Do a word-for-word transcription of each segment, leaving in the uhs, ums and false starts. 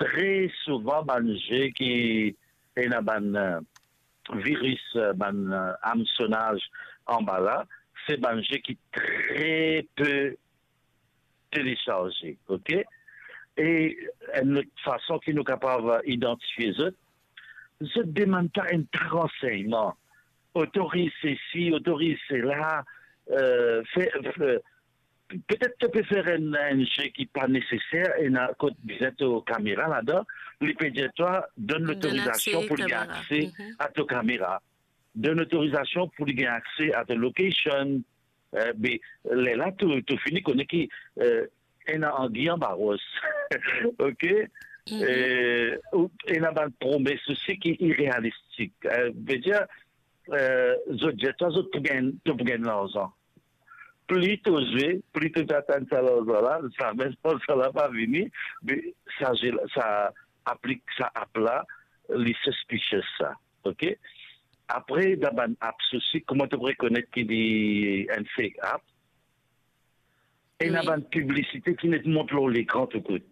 tre souvan bann ze ki ena bann, eh, viris, eh, bann, eh, amsonaz anba la, se bann ze ki tre pe telesarze, ok? E enn lot fason ki nou kapav idantifie zot, zot demann twa enn ta ransegnman, otoriz sesi, otoriz sela, eh, fer, fer, petet to pe fer enn, enn ze ki pa neseser, ena kot bizin to kamera ladan, li pe dir twa, donn lotorizasion pou li gagn akse a to kamera, donn lotorizasion pou li gagn akse a to location. Eh, be, lerla to, to fini kone ki, eh, ena angi anba ros. Ok? Eh, ou ena bann promes osi ki irealistik. Eh, vedir, eh, zot dir twa zot pou gagn, to pou gagn larzan. Pli to zwe, pli to pe atann sa larzan la, zame larzan la pa vini, be sa ze la, sa aplik, sa app la, li suspicious sa. Ok? Apre, dan bann apps osi, kouma to rekonet ki li enn fake app? Ena bann piblisite ki net mont lor lekran tou kout.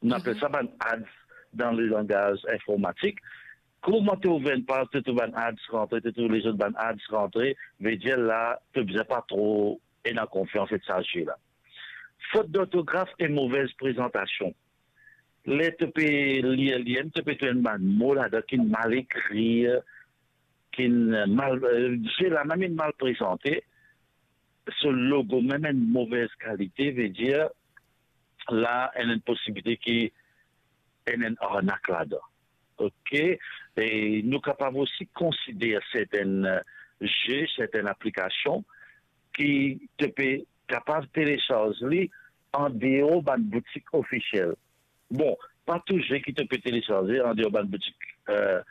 Nou apel sa bann ads dan le langaz informatik. Kouma to ouver enn paz, to trouv bann ads rantre, to trouv lezot bann ads rantre, vedir la, to bizin pa tro ena konfians et sa ze la. Fot d'ortograf e movez prezantasion. Ler to pe lir li, to pe trouv enn bann mo ladan ki mal ekrir, ki mal, eh, ze la mem inn mal prezante, so logo mem enn movez kalite, vedir la ena enn posibilite ki ena enn arnak ladan. Ok? E nou kapav osi konsider sertenn, eh, ze, sertenn aplikasion ki to pe kapav telesarz li andeor bann boutik ofisiel. Bon, pa tou ze ki to pe telesarze andeor bann boutik, eh,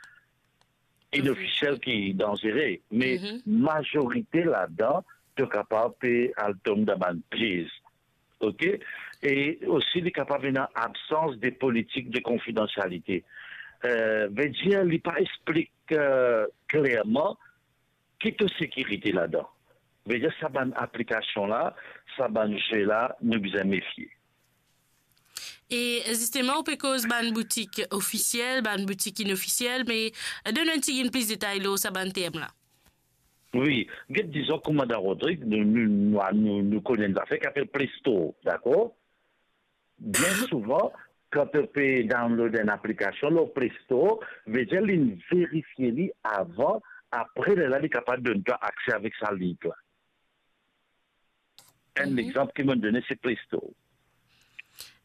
inofisiel ki danzere, me mazorite ladan, to kapav pe al tom dan bann piez. Ok? E osi, li kapav ena absans de politik de konfidansialite. Eh, vedir, li pa explik, eh, klerman ki to sekirite ladan. Vedir, sa bann aplikasion la, sa bann ze la, nou bizin mefie. E zisteman, ou pe koz bann boutik ofisiel, bann boutik inofisiel, me donn enn tigit plis detay lor sa bann term la. Wi, get dizon kouma dan Rodrig, nou, nou, nou, nou, nou konn enn zafer ki apel Play Store, dakor? Bien souvan, kan to pe download enn aplikasion lor Play Store, vedir li verifie li avan, apre lerla li kapav donn twa akse avek sa link la. Enn lexanp ki mo done, se Play Store.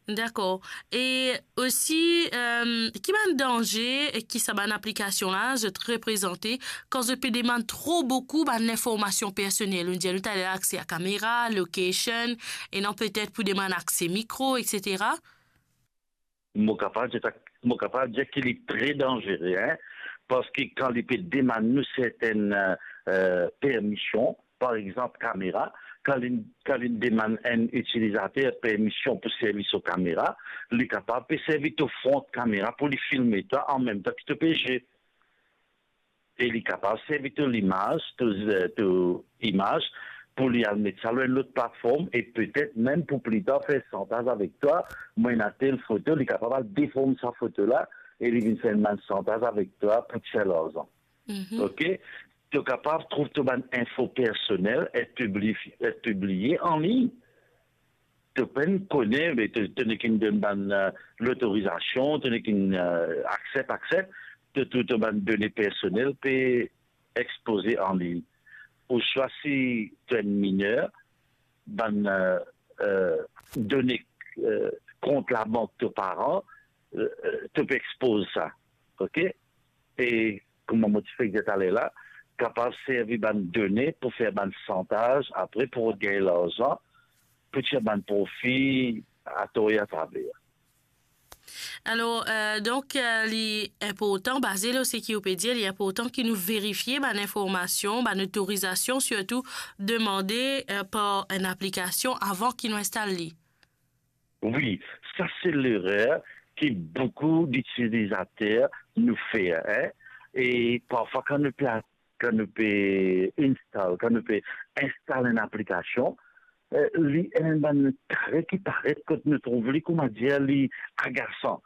Dakor. E osi, eh, ki bann danze ki sa bann aplikasion la zot reprezante kan zot pe demann tro boukou bann linformasion personel? Nou dir nou taler akse a kamera, location, e non petet pou demann akse mikro, et cetera. Mo kapav dir sa, mo kapav dir ki li tre danzere, hein, parski kan li pe demann nou sertenn, eh, eh, permision, par exanp, kamera, kan li, kan li demann enn itilizater permision pou servi so kamera, li kapav pe servi to front kamera pou li filme twa anmemtan ki to pe ze. E li kapav servi to limaz, to, eh, to imaz, pou li al met sa lor enn lot platform, e petet mem pou pli tar fer santaz avek twa, mo ena tel foto, li kapav al deform sa foto la, e li vinn fer enn bann santaz avek twa pou tir larzan. Mhm. Ok? To kapav trouv to bann info personel et pibli-, et pibliye an lign. To pa'nn kone, me to, to nek inn donn bann, eh, lotorizasion, to nek inn, eh, aksep, aksep, to, to, to bann done personel pe expoze an lign. Ouswa si to enn miner, bann, eh, eh, done, eh, kont labank to paran, eh, eh, to pe expoz sa. Ok? E kouma mo ti fek dir taler la, kapav servi bann done pou fer bann santaz, apre pou rod gagn larzan, pou tir bann profi ator e atraver. Alor, eh, donk, eh, li inportan, baze lor seki ou pe dir, li inportan ki nou verifie bann informasion, bann otorizasion, sirtou demande, eh, par enn aplikasion avan ki nou instal li. Wi, sa se lerer ki boukou ditilizater nou fer, hein. E parfwa kan nou pe a-, kan nou pe install, kan nou pe instal enn aplikasion, eh, li ena enn bann kare ki paret kot nou trouv li, kouma dir, li agasan.